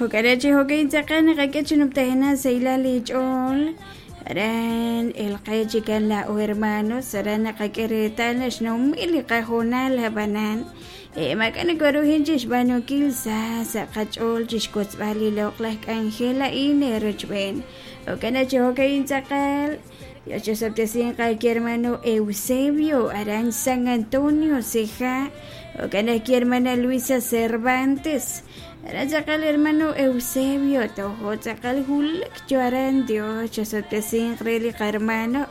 Jo'kan chi jo'kan tz'aqal naqak'e chi numtajenaq sahilal li ch'ool aran el qe chikan laa'o hermanos aran naqak'e reetal naxnumil li qahoonal ab'anan maak'a' nakoruhin chi xb'aanunkil sa sa' qach'ool chi xwotzb'al li loq'laj k'anjel a'in eerochb'een. Jo'kan chi jo'kan tz'aqal Dios chosob'tesinq ki hermano Eusebio aran San Antonio Ceja. Jo'kan ki hermana Luisa Cervantes aran tz'aqal hermano Eusebio tojo tz'aqal wulak yo aran. Dios chosob'tesinq re li qahermano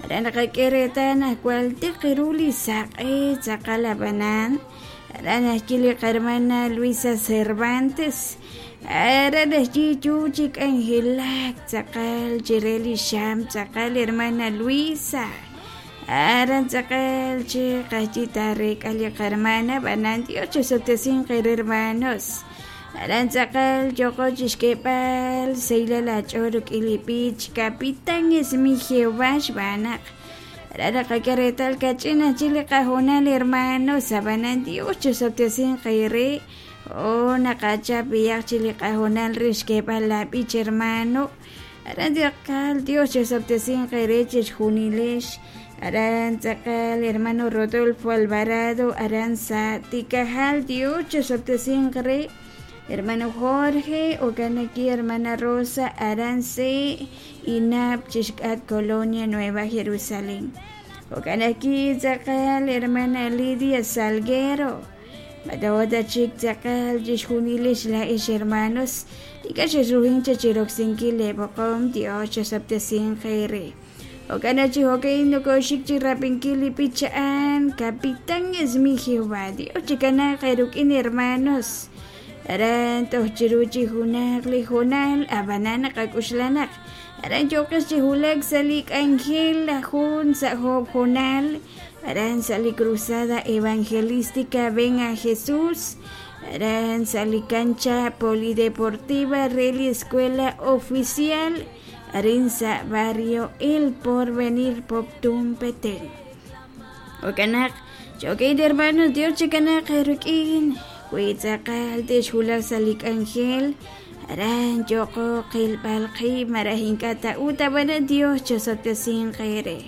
aran naqak'e reetal naq jwal tiq ru li saq'e tz'aqal ab'anan aran ajwi' li qahermana Luisa Cervantes aran ajwi' yu chi k'anjelak tz'aqal chire li xam tz'aqal hermana Luisa aran tz'aqal chi qajyi tarek'a li qahermana ab'anan Dios chosob'tesinq eere hermanos aran tz'aqal yoqo chixk'eeb'al sahilal aach'ool rik'in li b'ich Capitán es mi Jehová xb'aan naq aran naqak'e reetal kach'in ajwi' li qahoonal hermanos ab'anan Dios chosob'tesinq eere o naqachap b'iyaq chi li qahoonal re xk'eeb'al la b'ich hermano aran tz'aqal Dios chosob'tesinq eere chixjunilex aran tz'aqal hermano Rodolfo Alvarado aran sa' Tikajal Dios chosob'tesinq re hermano Jorge okanaki hermana Rosa aran se Inab chixk'at Colonia Nueva Jerusalén. Jo'kan ajwi' tz'aqal hermana Lidia Salguero matawata chik tz'aqal chixjunilex laa'ex hermanos ink'a' xexruhin chiroksinkil leeb'oqom Dios chosob'tesinq eere. Jo'kan chi jo'kan nokoxik chi rab'inkil li b'ich a'an Capitán es mi Jehová. Dios chikanaaq eerik'in hermanos aran toj chiru chi junaq li hoonal ab'anan naqak'uxla naq aran yooqex chi wulak sa' li k'anjel jun sa' job hoonal aran sa' li cruzada evangelística Ven a Jesús aran sa' li cancha polideportiva re li escuela oficial arin sa' barrio El Porvenir Poptún Petén. Jo'kan naq cho'k'in hermanos Dios chikanaaq eerik'in wi tz'aqal texwulaq sa' li k'anjel aran yoqo qilb'al qib' malaj ink'a' ta'ut ab'anan Dios chosob'tesinq eere.